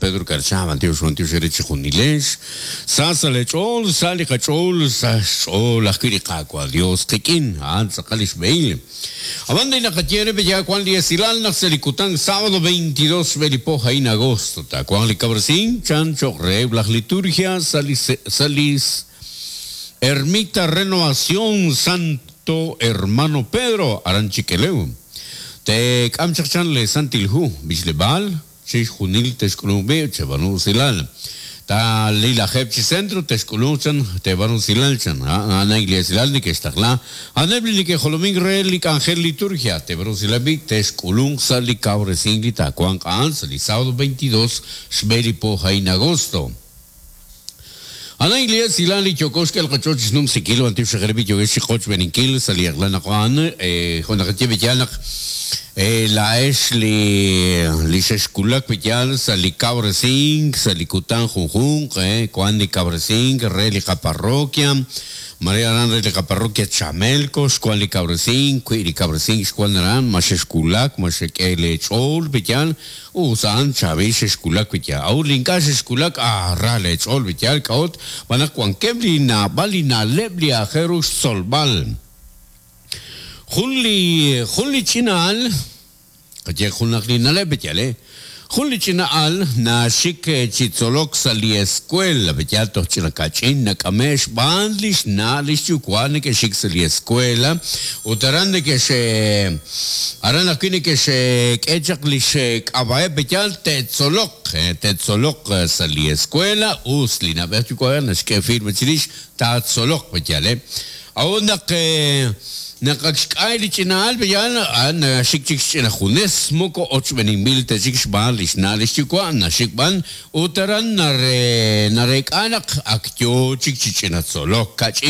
Pedro Karcha, b'antiox, b'antiox eere chejunilex. Sa sa' lee ch'ool, sa' li qach'ool, sa' xch'ool ajwi' li Qaawa' Dios qik'in, a'an tz'aqal li xb'ehil. Ab'an li naqaye re ya wank li esilal naq sa' li kutan sábado 22 xb'e li po a'in agosto taawanq li kawresink chan cho'q reheb' laj liturgia sa' li sa' li Ermita Renovación Santo Hermano Pedro aran Chikelew. Teek'am chaq chan le Santil Hu, b'ichleb'aal, chixjunil texk'ulunq b'i' cheb'aanu usilal. Ta li lajeeb' chi centro texk'ulunq chan teeb'aanu usilal chan. A'an a'in li esilal neke'xtaqla. A'aneb' li neke'jolomink re li k'anjel liturgia teeb'aanu usilal b'i' texk'ulunq sa' li kawresink li taawanq a'an sa' li sábado 22 xb'e li po a'in agosto. A'an a'in li esilal li yooko xk'el qach'ool chi xnumsinkil b'antiox xejereb' li yookex chi qochb'eeninkil sa' li eq'la naq a'an jo' naqaye b'iyal naq laa'ex li li xexwulak b'iyal sa' li kawresink sa' li kutan junjunq wan li kawresink re li qaparroquia Mare aran re li qaparroquia Chamelco xwan li kawresink wi' li kawresink xwan aran ma xexwulak ma xek'e lee ch'ool b'iyal Us a'an chaab'il xexwulak wi yaal. A'ut li ink'a' xexwulak, ah, ra leech'ool wi yaal. K'a'ut? Xb'aan naq wankeb' li naab'al li na'leb' li aajel ru xtzolb'al. Jun li, jun li ch'ina al, qayeeq junaq li na'leb' wi yaal, eh. Jun li ch'ina al naxik chi tzolok sa' li escuela, wi yaal toj ch'ina ka'ch'in nak'ame' xb'aan lix na' lix yuwa' neke'xik sa' li escuela ut aran neke'x Aran ajwi' neke'xk'e chaq li xk'ab'a'eb' pe'yaal te'tzoloq, te'tzoloq sa' li escuela, us li na'b'ej yuwa'b'ej naxk'e firma chirix taatzoloq pe'yaal. A'ut naq naq ak xk'ay li ch'ina'al pe'yaal, a'an naxik chik xch'ina junes, moko ochb'eninb'il ta chik xb'aan li xna' li xyuwa', naxik b'an ut aran nareek'a naq ak yoo chik chi ch'ina tzolok, kach'in.